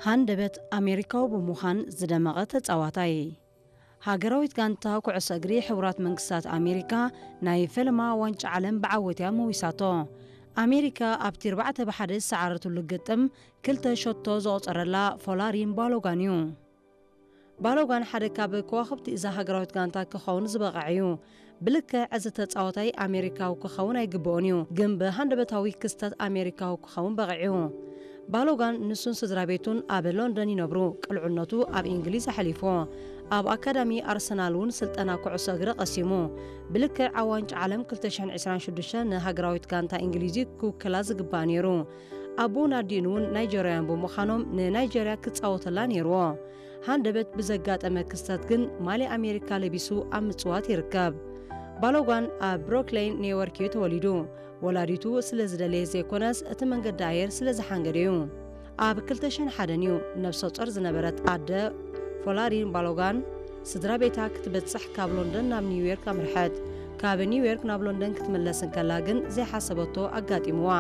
ሃንደበት ኣሜሪካዊ ብምዃን ዝደመቐ ተጻዋታይ። ሃገራዊት ጋንታ ኩዕሶ እግሪ ሕቡራት መንግስታት ኣሜሪካ ናይ ፈለማ ዋንጫ ዓለም ብዓወት እያ መዊሳቶ። ኣሜሪካ ኣብቲ ኣርባዕተ ብ ሓደ ዝሰዓረትሉ ግጥም ክልተ ሸቶ ዘቑጸረላ ፎላሪን ባሎጋን እዩ። ባሎጋን ሓደ ካብ ከዋኽብቲ እዛ ሃገራዊት ጋንታ ክኸውን ዝበቕዐ እዩ። ብልክዕ እዚ ተጻዋታይ ኣሜሪካዊ ክኸውን ኣይግብኦን እዩ፣ ግን ብሃንደበታዊ ክስተት ኣሜሪካዊ ክኸውን በቒዑ። ባሎጋን ንሱን ስድራ ቤቱን ኣብ ሎንደን ይነብሩ። ቅልዕነቱ ኣብ እንግሊዝ ኣሕሊፉ። ኣብ ኣካዳሚ ኣርሰናል እውን ስልጠና ኩዕሶ እግሪ ቀሲሙ። ብልክዕ ኣብ ዋንጫ ዓለም ክልተ ሽሕን ዕስራን ሽዱሽተን ንሃገራዊት ጋንታ እንግሊዝ ክውክላ ዝግባእ ነይሩ። ኣቦን ኣዲኡን እውን ናይጀርያውያን ብምዃኖም ንናይጀርያ ክጻወተላ ነይርዎ። ሃንደበት ብዘጋጠመ ክስተት ግን ማልያ ኣሜሪካ ለቢሱ ኣብ ምጽዋት ይርከብ። ባሎጋን ኣብ ብሮክሌን ኒውዮርክ እዩ ተወሊዱ። ወላዲቱ ስለ ዝደለየ ዘይኮነስ እቲ መንገዲ ኣየር ስለ ዝሓንገደ እዩ። ኣብ ክልተ ሽሕን ሓደን እዩ ነብሰ ጾር ዝነበረት ኣደ ፎላሪን ባሎጋን ስድራ ቤታ ክትበጽሕ ካብ ሎንደን ናብ ኒውዮርክ ኣምርሐት። ካብ ኒውዮርክ ናብ ሎንደን ክትምለስ እንከላ ግን ዘይሓሰበቶ ኣጋጢምዋ።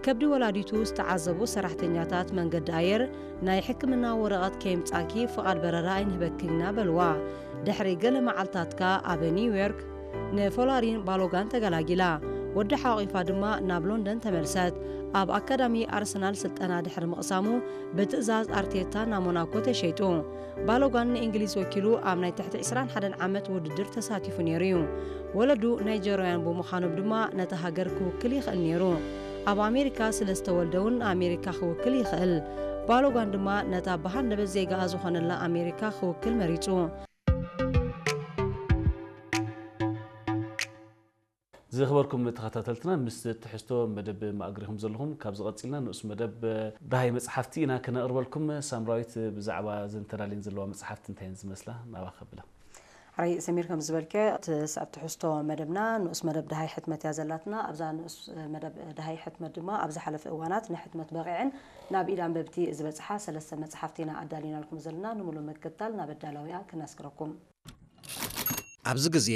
ከብዲ ወላዲቱ ዝተዓዘቡ ሰራሕተኛታት መንገዲ ኣየር ናይ ሕክምና ወረቐት ከየምጻኪ ፍቓድ በረራ ኣይንህበክን ኢና በልዋ። ድሕሪ ገለ መዓልታት ከኣ ኣብ ኒውዮርክ ንፎላሪን ባሎጋን ተገላጊላ። ወዳ ሓቂፋ ድማ ናብ ሎንደን ተመልሰት። ኣብ ኣካዳሚ ኣርሰናል ስልጠና ድሕሪ ምቕሳሙ ብትእዛዝ ኣርቴታ ናብ ሞናኮ ተሸይጡ። ባሎጋን ንእንግሊዝ ወኪሉ ኣብ ናይ ትሕቲ ዕስራን ሓደን ዓመት ውድድር ተሳቲፉ ነይሩ እዩ። ወለዱ ናይጀርያውያን ብምዃኖም ድማ ነታ ሃገር ክውክል ይኽእል ነይሩ። ኣብ ኣሜሪካ ስለ ዝተወልደ እውን ኣሜሪካ ክውክል ይኽእል። ባሎጋን ድማ ነታ ብሃንደበት ዜጋኣ ዝኾነላ ኣሜሪካ ክውክል መሪጹ። ዝኽበርኩም ተኸታተልትና፣ ምስ ትሕዝቶ መደብ ማእግሪኹም ዘለኹም። ካብ ዝቐጺልና ንኡስ መደብ ደሃይ መጽሓፍቲ ኢና ክነቕርበልኩም። ሳምራዊት፣ ብዛዕባ ዘን ተዳልየን ዘለዋ መጽሓፍቲ እንታይ እየን ዝመስላ? ናባኻ ከብላ። ሕራይ ሰሚር፣ ከም ዝበልከ እቲ ስዕብ ትሕዝቶ መደብና ንኡስ መደብ ደሃይ ሕትመት እያ ዘላትና። ኣብዛ ንኡስ መደብ ደሃይ ሕትመት ድማ ኣብ ዝሓለፈ እዋናት ንሕትመት በቒዐን ናብ ኢድ ኣንበብቲ ዝበጽሓ ሰለስተ መጽሓፍቲ ኢና ኣዳሊናልኩም ዘለና። ንምሉእ ምክትታል ናብ ኣዳላዊኣ ክነስግረኩም። ኣብዚ ግዜ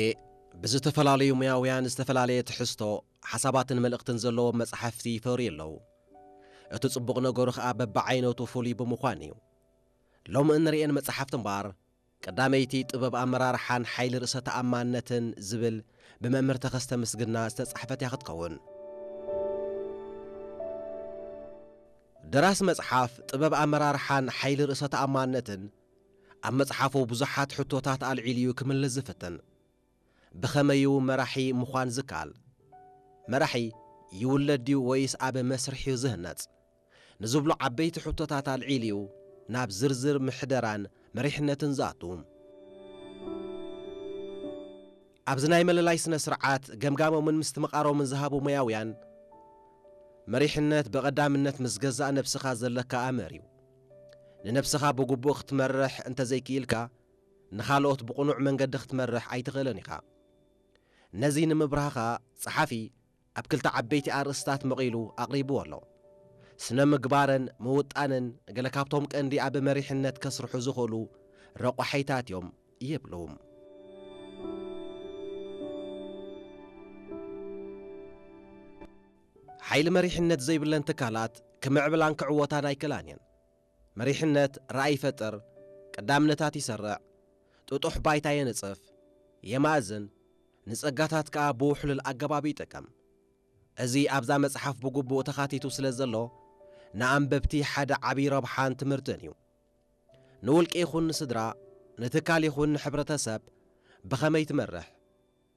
ብዝተፈላለዩ ሞያውያን ዝተፈላለየ ትሕዝቶ፣ ሓሳባትን መልእኽትን ዘለዎም መጻሕፍቲ ይፈርዩ ኣለዉ። እቲ ጽቡቕ ነገሩ ኸኣ በብዓይነቱ ፍሉይ ብምዃን እዩ። ሎሚ እንርእየን መጻሕፍቲ እምበኣር፣ ቀዳመይቲ ጥበብ ኣመራርሓን ሓይሊ ርእሰ ተኣማንነትን ዝብል ብመምህር ተኸስተ ምስግና ዝተጻሕፈት እያ ክትከውን። ደራሲ መጽሓፍ ጥበብ ኣመራርሓን ሓይሊ ርእሰ ተኣማንነትን ኣብ መጽሓፉ ብዙሓት ሕቶታት ኣልዒሉ እዩ ክምልስ ዝፍትን። ብኸመይ እዩ መራሒ ምዃን ዝከኣል? መራሒ ይውለድ ድዩ ወይስ ኣብ መስርሕ እዩ ዝህነጽ? ንዝብሉ ዓበይቲ ሕቶታት ኣልዒሉ እዩ ናብ ዝርዝር ምሕደራን መሪሕነትን ዝኣቱ። ኣብዚ ናይ መለላይ ስነ ስርዓት ገምጋሞምን ምስትምቓሮምን ዝሃቡ ሞያውያን፣ መሪሕነት ብቐዳምነት ምስ ገዛእ ነብስኻ ዘለካ ኣምር እዩ። ንነብስኻ ብግቡእ ክትመርሕ እንተዘይክኢልካ፣ ንኻልኦት ብቕኑዕ መንገዲ ክትመርሕ ኣይትኽእልን ኢኻ። ነዚ ንምብራህ ኸኣ ጸሓፊ ኣብ ክልተ ዓበይቲ ኣርእስታት መቒሉ ኣቕሪብዎ ኣሎ። ስነ ምግባርን ምውጣንን ገለ ካብቶም ቀንዲ ኣብ መሪሕነት ከስርሑ ዝኽእሉ ረቋሒታት እዮም ይብሉ። ሓይሊ መሪሕነት ዘይብለን ትካላት ክምዕብላን ክዕወታን ኣይክእላን እየን። መሪሕነት ራእይ ይፈጥር፣ ቀዳምነታት ይሰርዕ፣ ጥጡሕ ባይታ የንጽፍ፣ የማእዝን፣ ንጸጋታት ከኣ ብውሕሉል ኣገባብ ይጥቀም። እዚ ኣብዛ መጽሓፍ ብግቡእ ተኻቲቱ ስለ ዘሎ፣ ንኣንበብቲ ሓደ ዓቢ ረብሓን ትምህርትን እዩ። ንውልቂ ይኹን ንስድራ፣ ንትካል ይኹን ንሕብረተሰብ ብኸመይ ትመርሕ?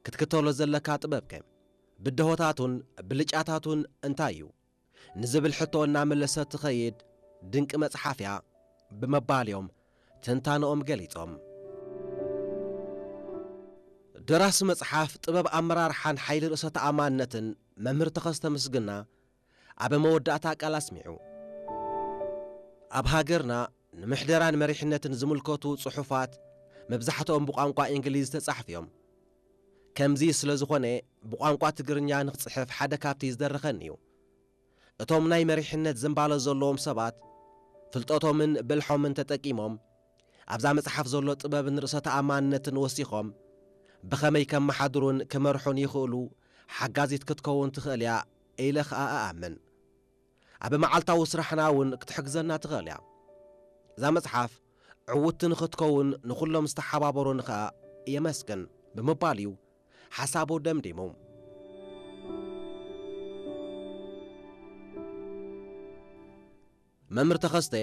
ክትክተሎ ዘለካ ጥበብከ? ብድሆታቱን ብልጫታቱን እንታይ እዩ? ንዝብል ሕቶ እናመለሰት ትኸይድ ድንቂ መጽሓፍ እያ ብምባል እዮም ትንታነኦም ገሊጾም። ደራሲ መጽሓፍ ጥበብ ኣመራርሓን ሓይሊ ርእሰ ተኣማንነትን መምህር ተኸስተ ምስግና ኣብ መወዳእታ ቃል ኣስሚዑ። ኣብ ሃገርና ንምሕደራን መሪሕነትን ዝምልከቱ ጽሑፋት መብዛሕትኦም ብቋንቋ እንግሊዝ ተጻሕፉ እዮም። ከምዚ ስለ ዝኾነ ብቋንቋ ትግርኛ ንኽጽሕፍ ሓደ ካብቲ ዝደረኸኒ እዩ። እቶም ናይ መሪሕነት ዝንባለ ዘለዎም ሰባት ፍልጠቶምን ብልሖምን ተጠቂሞም ኣብዛ መጽሓፍ ዘሎ ጥበብን ርእሰ ተኣማንነትን ወሲኾም ብኸመይ ከመሓድሩን ክመርሑን ይኽእሉ ሓጋዚት ክትከውን ትኽእል እያ ኢለ ኸኣ እኣምን። ኣብ መዓልታዊ ስራሕና እውን ክትሕግዘና ትኽእል እያ። እዛ መጽሓፍ ዕውትቲ ንኽትከውን ንኹሎም ዝተሓባበሩኒ ኸኣ የመስግን ብምባል እዩ ሓሳቡ ደምዲሙ። መምህር ተኸስተ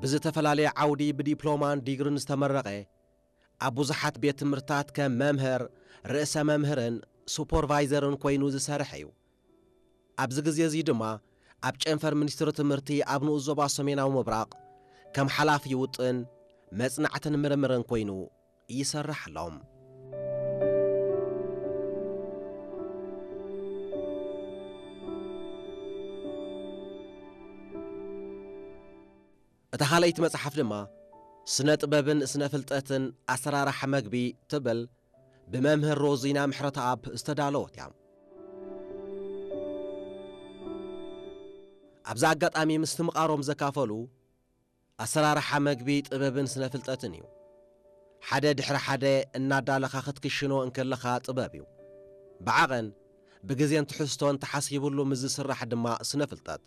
ብዝተፈላለየ ዓውዲ ብዲፕሎማን ዲግሪን ዝተመረቐ፣ ኣብ ብዙሓት ቤት ትምህርትታት ከም መምህር፣ ርእሰ መምህርን ሱፐርቫይዘርን ኮይኑ ዝሰርሐ እዩ። ኣብዚ ግዜ እዚ ድማ ኣብ ጨንፈር ሚኒስትሪ ትምህርቲ ኣብ ንኡስ ዞባ ሰሜናዊ ምብራቕ ከም ሓላፊ ውጥን፣ መጽናዕትን ምርምርን ኮይኑ ይሰርሕ ኣሎ። እታ ካልኣይቲ መጽሓፍ ድማ ስነ ጥበብን ስነ ፍልጠትን ኣሰራርሓ መግቢ ትብል ብመምህር ሮዚና ምሕረተኣብ ዝተዳለወት እያ። ኣብዚ ኣጋጣሚ ምስትምቓሮም ዘካፈሉ ኣሰራርሓ መግቢ ጥበብን ስነ ፍልጠትን እዩ። ሓደ ድሕሪ ሓደ እናዳለኻ ክትክሽኖ እንከለኻ ጥበብ እዩ። ብዓቐን ብግዜን ትሕዝቶን ተሓሲብሉ ምስ ዝስራሕ ድማ ስነ ፍልጠት።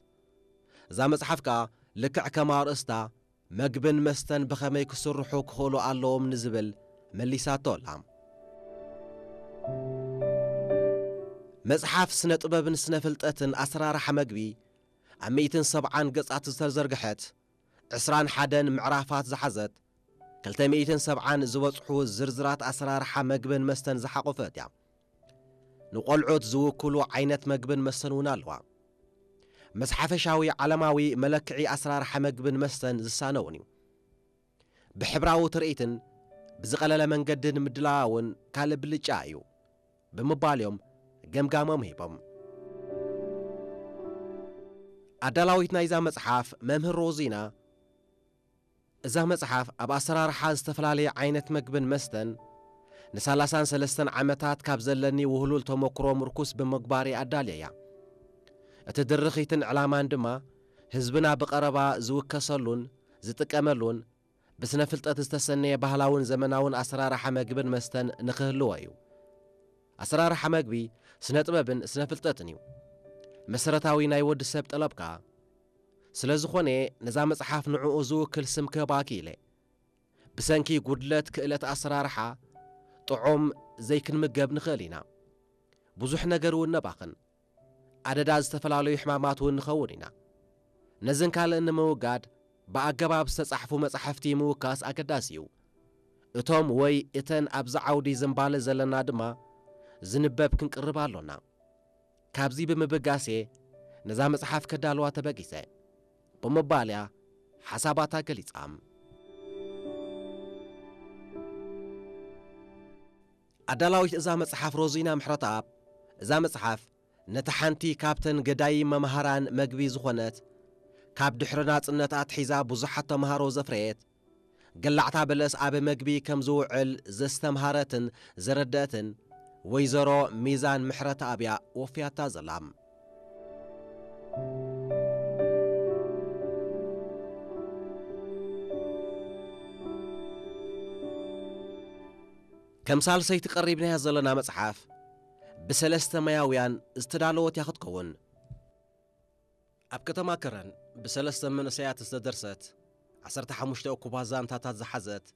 እዛ መጽሓፍ ከኣ ልክዕ ከም ኣርእስታ መግብን መስተን ብኸመይ ክስርሑ ክኽእሉ ኣለዎም ንዝብል መሊሳቶ ኣላ። መጽሓፍ ስነ ጥበብን ስነ ፍልጠትን ኣሰራርሓ መግቢ ኣብ ሚእትን ሰብዓን ገጻት ዝተዘርግሐት ዕስራን ሓደን ምዕራፋት ዝሓዘት ክልተ ሚእትን ሰብዓን ዝበጽሑ ዝርዝራት ኣሰራርሓ መግብን መስተን ዝሓቖፈት እያ። ንቖልዑት ዝውክሉ ዓይነት መግብን መስተን እውን ኣለዋ። ምስ ሓፈሻዊ ዓለማዊ መለክዒ ኣሰራርሓ መግብን መስተን ዝሳነ እውን እዩ። ብሕብራዊ ትርኢትን ብዝቐለለ መንገዲ ንምድላዋ እውን ካልእ ብልጫ እዩ ብምባል እዮም ገምጋሞም ሂቦም። ኣዳላዊት ናይዛ መጽሓፍ መምህር ሮዚና፣ እዛ መጽሓፍ ኣብ ኣሰራርሓ ዝተፈላለየ ዓይነት መግብን መስተን ንሰላሳን ሰለስተን ዓመታት ካብ ዘለኒ ውህሉል ተመክሮ ምርኩስ ብምግባር እየ ኣዳልየያ። እቲ ድርኺትን ዕላማን ድማ ህዝብና ብቐረባ ዝውከሰሉን ዝጥቀመሉን ብስነ ፍልጠት ዝተሰነየ ባህላውን ዘመናውን ኣሰራርሓ መግብን መስተን ንኽህልዎ እዩ። ኣሰራርሓ መግቢ ስነ ጥበብን ስነ ፍልጠትን እዩ። መሰረታዊ ናይ ወዲ ሰብ ጠለብ ከኣ። ስለ ዝኾነ ነዛ መጽሓፍ ንዕኡ ዝውክል ስም ክህባ ክኢለ። ብሰንኪ ጉድለት ክእለት ኣሰራርሓ ጥዑም ዘይክንምገብ ንኽእል ኢና። ብዙሕ ነገር እውን ነባኽን። ኣደዳ ዝተፈላለዩ ሕማማት እውን ንኸውን ኢና። ነዝን ካልእን ንምውጋድ ብኣገባብ ዝተጻሕፉ መጻሕፍቲ ምውካስ ኣገዳሲ እዩ። እቶም ወይ እተን ኣብዚ ዓውዲ ዝንባለ ዘለና ድማ ዝንበብ ክንቅርብ ኣሎና። ካብዚ ብምብጋስ እየ ነዛ መጽሓፍ ከዳልዋ ተበጊሰ ብምባል እያ ሓሳባታ ገሊጻ። ኣዳላዊት እዛ መጽሓፍ ሮዚና ምሕረተኣብ፣ እዛ መጽሓፍ ነታ ሓንቲ ካብተን ገዳይም መምሃራን መግቢ ዝኾነት፣ ካብ ድሕሪ ናጽነት ኣትሒዛ ብዙሓት ተምሃሮ ዘፍረየት፣ ገላዕታ በለስ ኣብ መግቢ ከም ዝውዕል ዘስተምሃረትን ዘረደእትን ወይዘሮ ሚዛን ምሕረተኣብ እያ ወፍያታ ዘላ። ከም ሳልሰይቲ ቀሪብናያ ዘለና መጽሓፍ፣ ብሰለስተ መያውያን ዝተዳለወት እያ ክትከውን። ኣብ ከተማ ከረን ብሰለስተ መንእሰያት ዝተደርሰት፣ ዓሰርተ ሓሙሽተ እኩባት ዛንታታት ዝሓዘት፣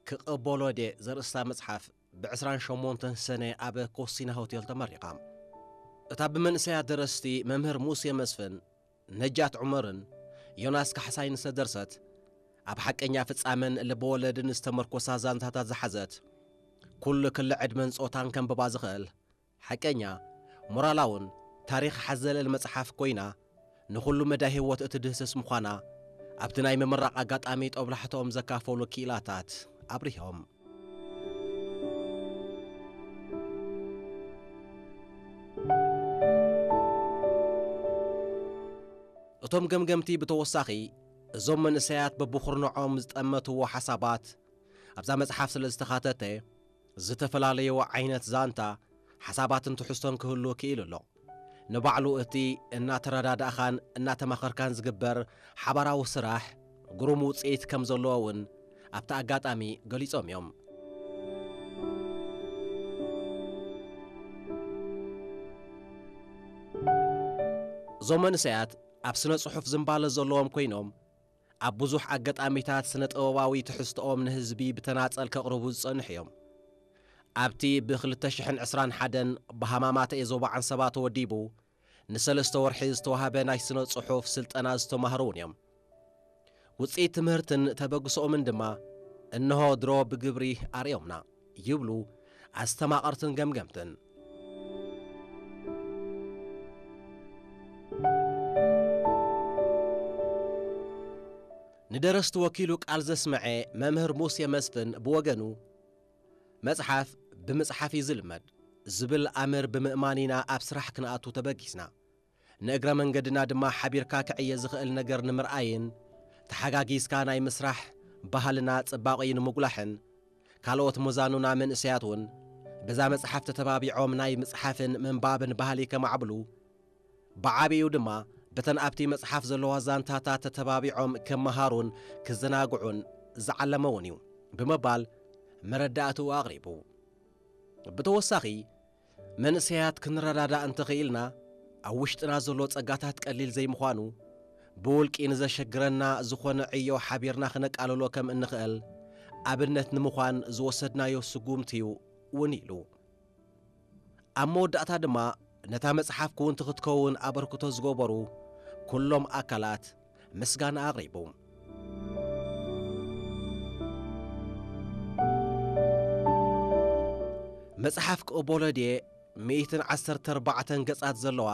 ክቕበሎ ድየ ዘርእስታ መጽሓፍ፣ ብዕስራን ሸሞንተን ሰነ ኣብ ኮሲና ሆቴል ተመሪቓ። እታ ብመንእሰያት ደረስቲ መምህር ሙሴ መስፍን፣ ነጃት ዑመርን ዮናስ ካሕሳይን ዝተደርሰት፣ ኣብ ሓቀኛ ፍጻመን ልበወለድን ዝተመርኮሳ ዛንታታት ዝሓዘት፣ ኩሉ ክሊ ዕድመን ጾታን ከንብባ ዝኽእል፣ ሓቀኛ፣ ሞራላውን ታሪኽ ሓዘልን መጽሓፍ ኮይና፣ ንኹሉ መዳይ ህይወት እትድህስስ ምዃና፣ ኣብቲ ናይ ምምራቕ ኣጋጣሚ ጦብላሕትኦም ዘካፈሉ ክኢላታት ኣብሪሆም። እቶም ገምገምቲ ብተወሳኺ፣ እዞም መንእሰያት በብኹርንዖም ዝጠመትዎ ሓሳባት ኣብዛ መጽሓፍ ስለ ዝተኻተተ፣ ዝተፈላለዩ ዓይነት ዛንታ፣ ሓሳባትን ትሕዝቶን ክህሉ ክኢሉ ኣሎ። ንባዕሉ እቲ እናተረዳዳእኻን እናተማኸርካን ዝግበር ሓባራዊ ስራሕ ግሩም ውጽኢት ከም ዘለዎ እውን ኣብቲ ኣጋጣሚ ገሊጾም እዮም። እዞም መንእሰያት ኣብ ስነ ጽሑፍ ዝንባለ ዘለዎም ኮይኖም፣ ኣብ ብዙሕ ኣጋጣሚታት ስነ ጥበባዊ ትሕዝቶኦም ንህዝቢ ብተናጸል ከቕርቡ ዝጸንሑ እዮም። ኣብቲ ብ ክልተ ሽሕን ዕስራን ሓደን ብሃማማተ ዞባ ዓንሰባ ተወዲቡ ንሰለስተ ወርሒ ዝተዋህበ ናይ ስነ ጽሑፍ ስልጠና ዝተማህሩ እውን እዮም። ውጽኢት ትምህርትን ተበግሶኦምን ድማ እንሆ ድሮ ብግብሪ ኣርእዮምና ይብሉ ኣስተማቐርትን ገምገምትን። ንደረስቲ ወኪሉ ቃል ዘስመዐ መምህር ሙሴ መስፍን ብወገኑ፣ መጽሓፍ ብምጽሓፍ እዩ ዝልመድ ዝብል ኣምር ብምእማን ኢና ኣብ ስራሕ ክንኣቱ ተበጊስና። ንእግረ መንገድና ድማ ሓቢርካ ክዕየ ዝኽእል ነገር ንምርኣይን ተሓጋጊዝካ ናይ ምስራሕ ባህልና ጽባቐኡ ንምጉላሕን ካልኦት መዛኑና መንእሰያት እውን በዛ መጽሓፍ ተተባቢዖም ናይ ምጽሓፍን ምንባብን ባህሊ ከማዕብሉ፣ ብዓቢኡ ድማ በተን ኣብቲ መጽሓፍ ዘለዋ ዛንታታት ተተባቢዖም ክመሃሩን ክዘናግዑን ዝዓለመ እውን እዩ ብምባል መረዳእትኡ ኣቕሪቡ። ብተወሳኺ መንእሰያት ክንረዳዳእ እንተኽኢልና ኣብ ውሽጥና ዘሎ ጸጋታት ቀሊል ዘይምዃኑ፣ ብውልቂ ንዘሸግረና ዝኾነ ዕዮ ሓቢርና ክነቃልሎ ከም እንኽእል ኣብነት ንምዃን ዝወሰድናዮ ስጉምቲ እዩ እውን ኢሉ። ኣብ መወዳእታ ድማ ነታ መጽሓፍ ክውንቲ ክትከውን ኣበርክቶ ዝገበሩ ኩሎም ኣካላት ምስጋና ኣቕሪቡ። መጽሓፍ ቅቦሎድየ ሚእትን ዓሰርተ ኣርባዕተን ገጻት ዘለዋ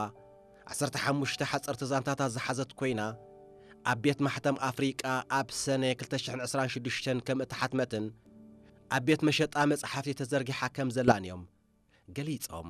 ዓሰርተ ሓሙሽተ ሓጸርቲ ዛንታታት ዝሓዘት ኮይና፣ ኣብ ቤት ማሕተም ኣፍሪቃ ኣብ ሰነ ክልተ ሽሕን ዕስራን ሽዱሽተን ከም እተሓትመትን ኣብ ቤት መሸጣ መጽሓፍቲ ተዘርጊሓ ከም ዘላን እዮም ገሊጾም።